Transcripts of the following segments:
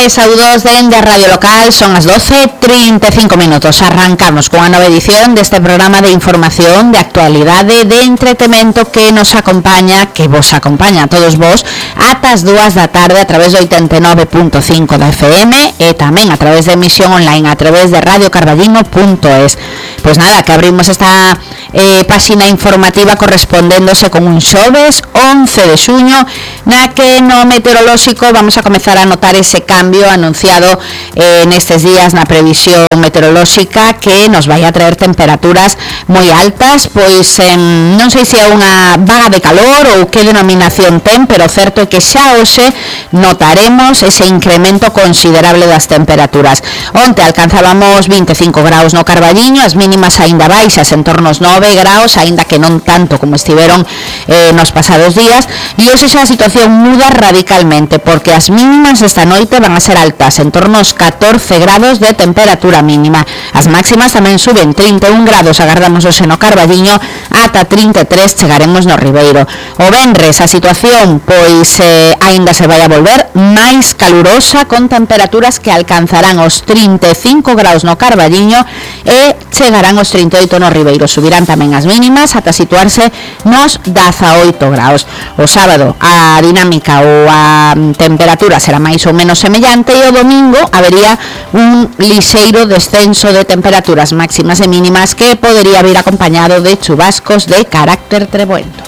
e saúdos dende a Radio Local. Son as 12:35 minutos. Arrancamos con a nova edición deste programa de información, de actualidade, de entretemento que nos acompaña, que vos acompaña a todos vos ata as 2 da tarde a través do 89.5 da FM e tamén a través de emisión online a través de radiocarballino.es. Pois nada, que abrimos esta páxina informativa correspondéndose con un xoves 11 de xuño, na que no meteorolóxico vamos a comezar a notar ese cambio anunciado nestes días na previsión meteorolóxica, que nos vai a traer temperaturas moi altas. Pois non sei se é unha vaga de calor ou que denominación ten, pero certo é que xa hoxe notaremos ese incremento considerable das temperaturas. Onte alcanzábamos 25 graus no Carballiño, as mínimas aínda baixas en torno aos 9 graus, aínda que non tanto como estiveron nos pasados días, e hoxe xa a situación muda radicalmente, porque as mínimas esta noite van a ser altas, en torno aos 14 grados de temperatura mínima. As máximas tamén suben, 31 grados agardamos hoxe no Carballiño, ata 33 chegaremos no Ribeiro. O venres a situación pois aínda se vai a volver máis calurosa, con temperaturas que alcanzarán os 35 graus no Carballiño e chegarán os 38 no Ribeiro. Subirán tamén as mínimas ata situarse nos 18 graus. O sábado a dinámica ou a temperatura será máis ou menos semellante, e o domingo habería un lixeiro descenso de temperaturas máximas e mínimas que podería vir acompañado de chubascos de carácter treboento.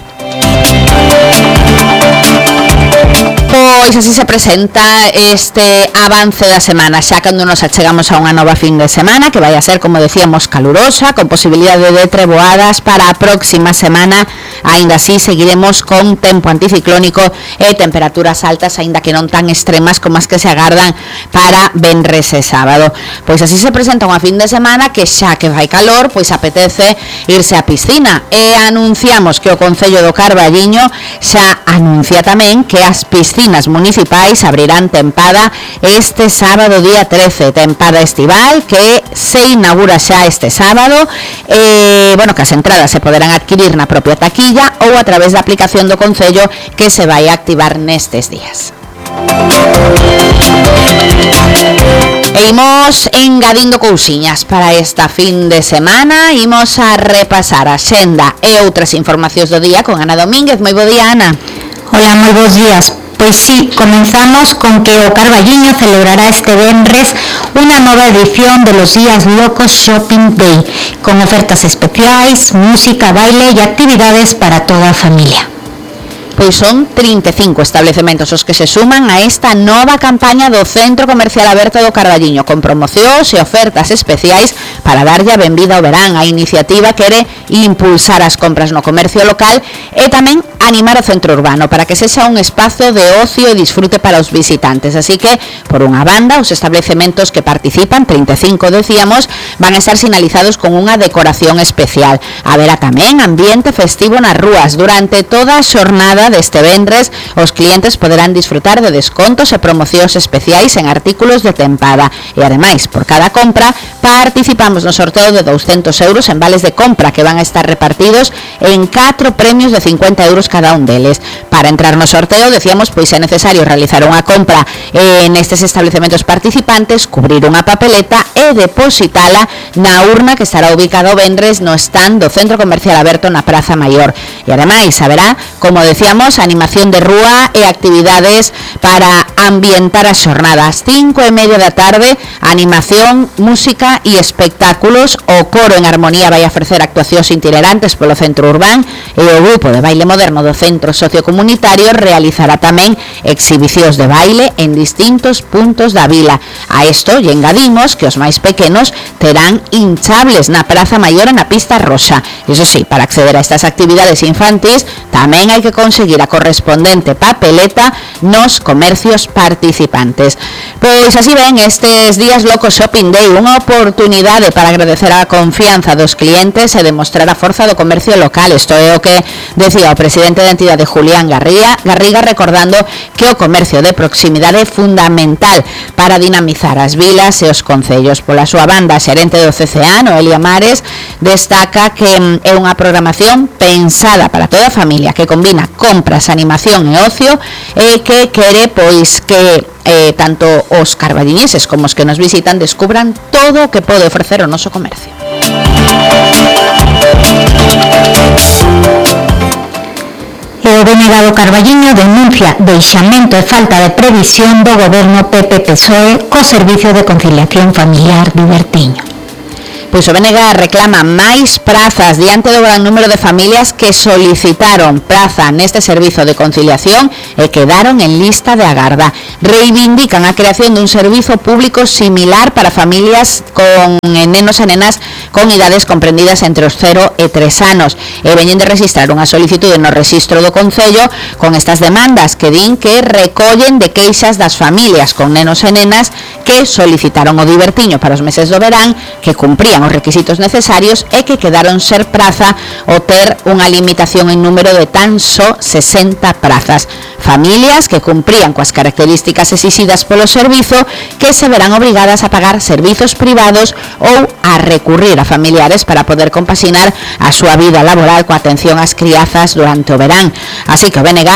Pois así se presenta este avance da semana, xa cando nos achegamos a unha nova fin de semana que vai a ser, como decíamos, calurosa, con posibilidade de treboadas para a próxima semana. Aínda así seguiremos con tempo anticiclónico e temperaturas altas, aínda que non tan extremas como as que se agardan para venres e sábado. Pois así se presenta unha fin de semana que xa que vai calor, pois apetece irse á piscina, e anunciamos que o Concello do Carballiño xa anuncia tamén que as piscinas municipais abrirán tempada este sábado día 13, tempada estival que se inaugura xa este sábado. Bueno, que as entradas se poderán adquirir na propia taquilla ou a través da aplicación do Concello, que se vai a activar nestes días. E imos engadindo cousiñas para esta fin de semana. Imos a repasar a xenda e outras informacións do día con Ana Domínguez. Moi bo día, Ana. Hola, moi bons días. Pois sí, comenzamos con que o Carballiño celebrará este venres unha nova edición de los Días Locos Shopping Day, con ofertas especiais, música, baile e actividades para toda a familia. Pois son 35 establecementos os que se suman a esta nova campaña do Centro Comercial Aberto do Carballiño, con promocións e ofertas especiais para darlle a benvida ao verán. A iniciativa quere impulsar as compras no comercio local e tamén animar o centro urbano para que sexa un espazo de ocio e disfrute para os visitantes. Así que, por unha banda, os establecementos que participan, 35 decíamos, van a estar sinalizados con unha decoración especial. Haberá tamén ambiente festivo nas rúas. Durante toda a xornada deste venres, os clientes poderán disfrutar de descontos e promocións especiais en artículos de tempada. E ademais, por cada compra, participamos no sorteo de 200 euros en vales de compra que van a estar repartidos en 4 premios de 50 euros cada un deles. Para entrar no sorteo, decíamos, pois é necesario realizar unha compra nestes establecementos participantes, cubrir unha papeleta e depositala na urna que estará ubicada o venres no stand do Centro Comercial Aberto na Praza Maior. E ademais haberá, como decíamos, animación de rúa e actividades para ambientar as xornadas. 5:30 da tarde, animación, música e espectáculos. O coro en armonía vai a ofrecer actuacións itinerantes polo centro urbán, e o grupo de baile moderno do centro sociocomunitario realizará tamén exhibicións de baile en distintos puntos da vila. A isto lle engadimos que os máis pequenos terán hinchables na Praza Maior e na pista roxa. Iso sí, para acceder a estas actividades infantis tamén hai que conseguir a correspondente papeleta nos comercios participantes. Pois así ven estes Días Locos Shopping Day, unha oportunidade para agradecer a confianza dos clientes e demostrar a forza do comercio local. Isto é o que decía o presidente da entidade, Julián Garriga, recordando que o comercio de proximidade é fundamental para dinamizar as vilas e os concellos. Pola súa banda, a xerente do CCA, Noelia Mares, destaca que é unha programación pensada para toda a familia, que combina compras, animación e ocio, e que quere pois que tanto os carballiñeses como os que nos visitan descubran todo o que pode ofrecer o noso comercio. O BNG do Carballiño denuncia deixamento e falta de previsión do goberno PP-PSOE co Servicio de Conciliación Familiar de Bertiño. Pois o BNG reclama máis prazas diante do gran número de familias que solicitaron praza neste servizo de conciliación e quedaron en lista de agarda. Reivindican a creación dun servizo público similar para familias con nenos e nenas con idades comprendidas entre os 0 e 3 anos. E veñen de registrar unha solicitude no rexistro do Concello con estas demandas que din que recollen de queixas das familias con nenos e nenas que solicitaron o divertiño para os meses do verán, que cumprían os requisitos necesarios e que quedaron ser praza o ter unha limitación en número de tan só 60 prazas. Familias que cumprían coas características exixidas polo servizo que se verán obrigadas a pagar servizos privados ou a recurrir a familiares para poder compaxinar a súa vida laboral coa atención ás criazas durante o verán. Así que o BNG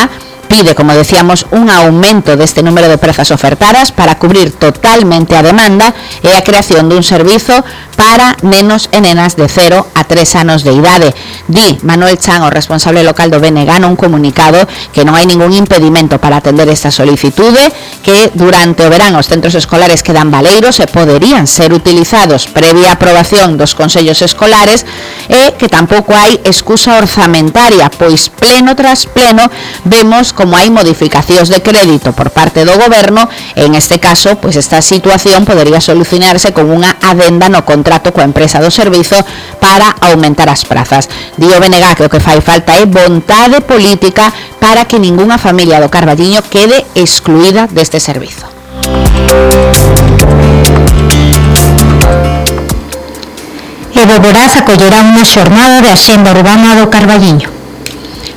pide, como decíamos, un aumento deste número de prazas ofertadas para cubrir totalmente a demanda e a creación dun servizo para nenos e nenas de 0 a 3 anos de idade. Di Manuel Chan, o responsable local do BNG, nun comunicado que non hai ningún impedimento para atender esta solicitude, que durante o verán os centros escolares quedan baleiros e poderían ser utilizados previa aprobación dos consellos escolares e que tampouco hai excusa orzamentaria, pois pleno tras pleno vemos como hai modificacións de crédito por parte do goberno e en este caso, pois esta situación podería solucionarse con unha adenda no contrato coa empresa do servizo para aumentar as prazas. Di o BNG que o que fai falta é vontade política para que ningunha familia do Carballiño quede excluída deste servizo. E Boborás acollerá unha xornada de axenda urbana do Carballiño.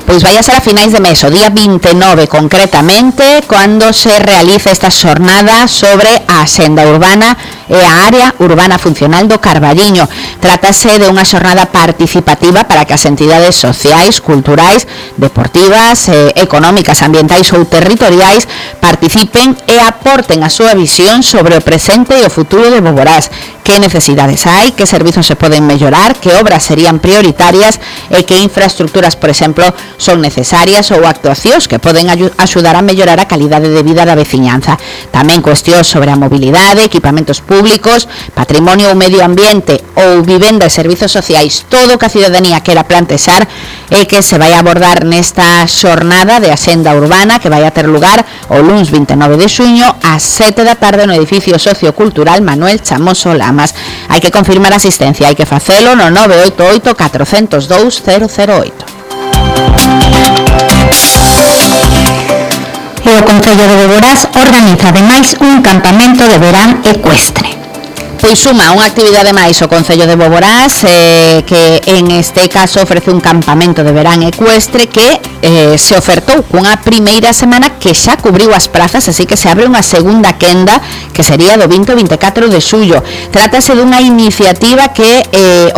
Pois vai a ser a finais de mes, o día 29 concretamente, cando se realiza esta xornada sobre a axenda urbana e a área urbana funcional do Carballiño. Trátase de unha xornada participativa para que as entidades sociais, culturais, deportivas, económicas, ambientais ou territoriais participen e aporten a súa visión sobre o presente e o futuro de Boborás. Que necesidades hai, que servizos se poden mellorar, que obras serían prioritarias e que infraestructuras, por exemplo, son necesarias ou actuacións que poden axudar a mellorar a calidade de vida da veciñanza. Tamén cuestións sobre a mobilidade, equipamentos públicos, patrimonio ou medio ambiente ou vivenda e servizos sociais, todo o que a cidadanía quera plantexar e que se vai abordar nesta xornada de axenda urbana que vai a ter lugar o luns 29 de xuño ás 7 da tarde no edificio sociocultural Manuel Chamoso Lamas. Hai que confirmar a asistencia, hai que facelo no 988 402 008. E o Concello de Boborás organiza ademais un campamento de verán ecuestre. Pois suma unha actividade máis o Concello de Boborás que en este caso ofrece un campamento de verán ecuestre que se ofertou cunha primeira semana que xa cubriu as prazas, así que se abre unha segunda quenda que sería do 20 ao 24 de xullo. Trátase dunha iniciativa que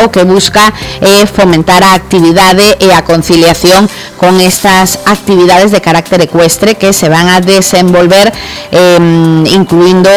o que busca é fomentar a actividade e a conciliación con estas actividades de carácter ecuestre que se van a desenvolver incluindo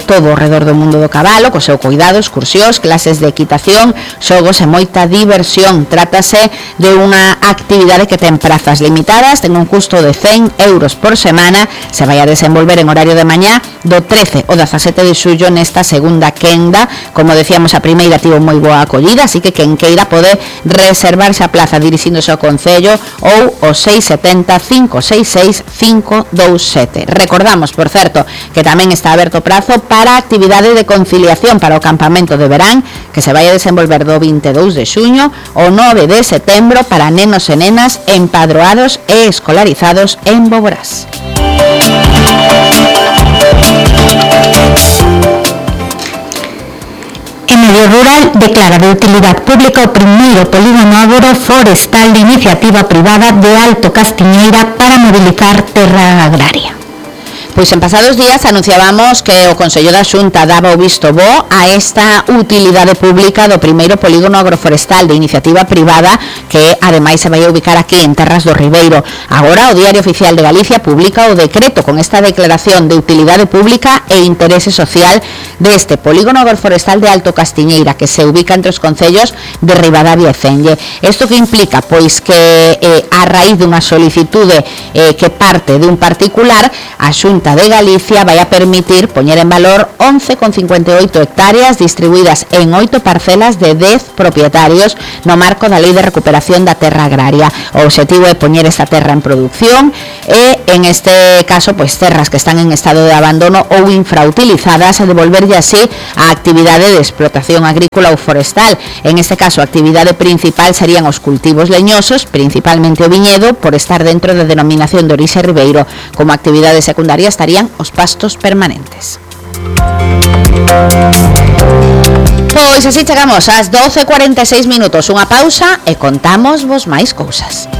todo ao redor do mundo do cabalo, co seu cuidado, excursións, clases de equitación, xogos e moita diversión. Trátase de unha actividade que ten prazas limitadas, ten un custo de 100 euros por semana, se vai a desenvolver en horario de mañá do 13 ao 17 de xullo nesta segunda quenda. Como decíamos, a primeira tivo moi boa acollida, así que quen queira pode reservarse a plaza dirixíndose ao Concello ou o 670 566 527. Recordamos, por certo, que tamén está aberto prazo para a actividade de conciliación para o campamento de verán que se vai a desenvolver do 22 de xuño ao 9 de setembro para nenos e nenas empadroados e escolarizados en Boborás. En Medio Rural declara de utilidade pública o primeiro polígono agroforestal de iniciativa privada de Alto Castiñeira para mobilizar terra agraria. Pois en pasados días anunciábamos que o Consello da Xunta daba o visto bo a esta utilidade pública do primeiro polígono agroforestal de iniciativa privada que ademais se vai a ubicar aquí en Terras do Ribeiro. Agora o Diario Oficial de Galicia publica o decreto con esta declaración de utilidade pública e interese social deste polígono agroforestal de Alto Castiñeira, que se ubica entre os concellos de Ribadavia e Fenlle. Isto que implica? Pois que a raíz dunha solicitude que parte de un particular, a Xunta de Galicia vai a permitir poñer en valor 11,58 hectáreas distribuídas en 8 parcelas de 10 propietarios no marco da Lei de Recuperación da Terra Agraria. O obxectivo é poñer esta terra en producción e, en este caso, pois terras que están en estado de abandono ou infrautilizadas, a devolverlle así a actividade de explotación agrícola ou forestal. En este caso, a actividade principal serían os cultivos leñosos, principalmente o viñedo, por estar dentro da denominación de orixe ribeiro. Como actividade secundaria estarían os pastos permanentes. Pois así chegamos ás 12:46 minutos, unha pausa e contamos vos máis cousas.